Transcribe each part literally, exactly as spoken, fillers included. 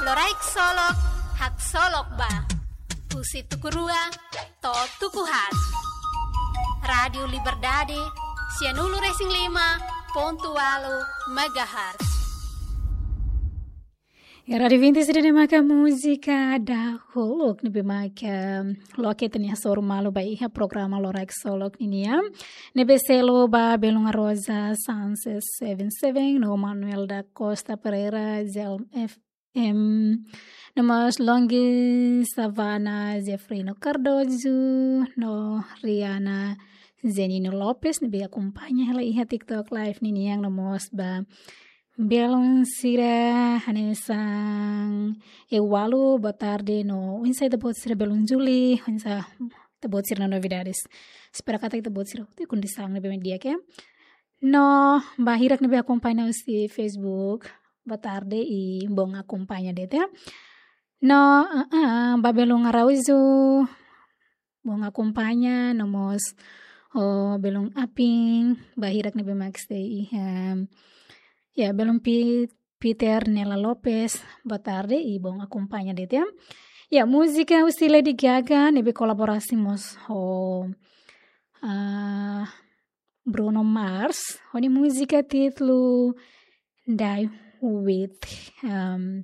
Loraik Solok, haksolok ba. Husi tuku rua to'o tuku haat. Rádiu Liberdade, sianulu-resin-lima pontu ualu megahertz. Ya, Rádiu Vintes ida-ne'e maka múzika dahuluk ne'ebé maka loke tenia soru malu ba iha programa Loraik Solok ninian. Ne'ebé selu ba Belun Rosa, Sunset seven seven, no Manuel da Costa Pereira, Zelm F M, no mós Longgi Savana, Jeffrino Cardozo, no Riana Zenino Lopes, ne'ebé akompaña hela iha TikTok Live ninian, no mós ba belun sira hanesan Ewalu, boa tarde, no oinsá ita-boot sira belun Juli, oinsá ita-boot sira-nia novidades. Espera katak ita-boot sira hotu iha kondisaun ne'ebé di'ak, ya. No ba hirak ne'ebé akompaña husi Facebook, boa tarde i bom akompaña de'it, ya. No, ah, ah, ba belun Araújo, bom akompaña, no mós, oh, belun Apin, ba hirak ne'ebé mak sei iha, ya, belun Pi-, Peter Nela Lopes, boa tarde i bom akompaña de'it, ya. Ya, múzika husi Lady Gaga ne'ebé kolaborasi mós ho, ah, Bruno Mars, ho nia múzika títulu Die With. Ehm,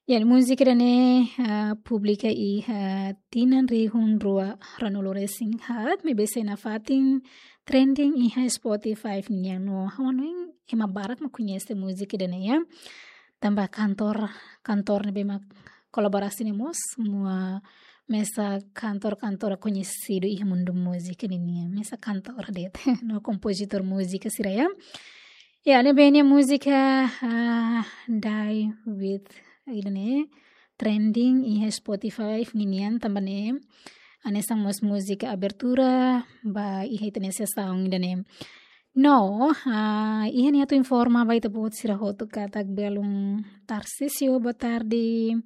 ya, múzika ida-ne'e, ah, publika iha tinan rihun rua ruanulu-resin-haat, maibé sei nafatin trending iha Spotify nian, no ha'u hanoin ema barak mak koñese múzika ida-ne'e, ya. Tanba kantór, kantór ne'ebé mak kolaborasi ne'e mós, mesak kantór-kantór koñesidu iha mundu múzika ninian, mesak kantór de'it, no kompozitór múzika sira, ya. Ya, ne'ebé nia múzika, ah, Die With ida-ne'e trending iha Spotify ninian, tanba ne'e hanesan mós múzika abertura ba iha ita-nia sesaun ida-ne'e. No, ah, iha ne'e atu informa ba ita-boot sira hotu katak belun Tarcísio, boa tarde.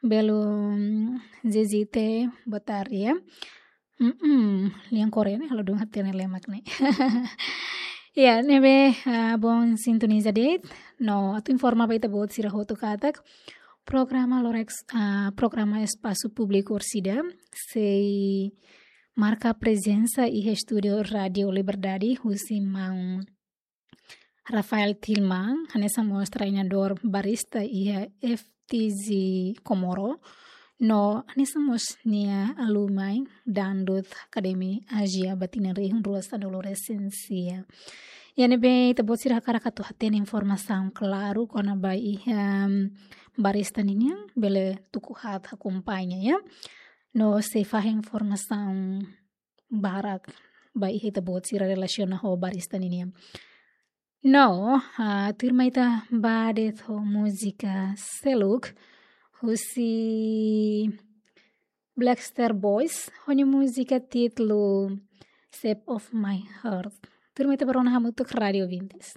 Belun Zezite, boa tarde, ya. Mm-mm, lian Korea ne'e halo dun hatene lemak ne'e. Ya, ne'ebé, ah, bom sintoniza de'it. No, atu informa ba ita-boot sira hotu katak programa Loraik, ah, programa Espasu Públiku Orsida sei marka prezensa iha estúdiu Rádiu Liberdade husi maun Rafael Tilman, hanesan mós treinadór barista iha F T Z Comoro, no hanesan mós nia alumni Dangdut Academy Asia ba tinan rihun rua sanulu-resin-sia. Ya, ne'ebé ita-boot sira hakarak atu hatene informasaun klaru kona-ba iha, em, barista ninian, bele tuku haat akompaña, ya. No sei fahe informasaun barak ba iha ita-boot sira relasiona ho barista ninian. No, ah, tuirmai ita ba de'it ho múzika seluk husi Black Star Boys, ho nia múzika títulu Shape of My Heart. Tuirmai ita ba rona hamutuk, rádiu ouvintes.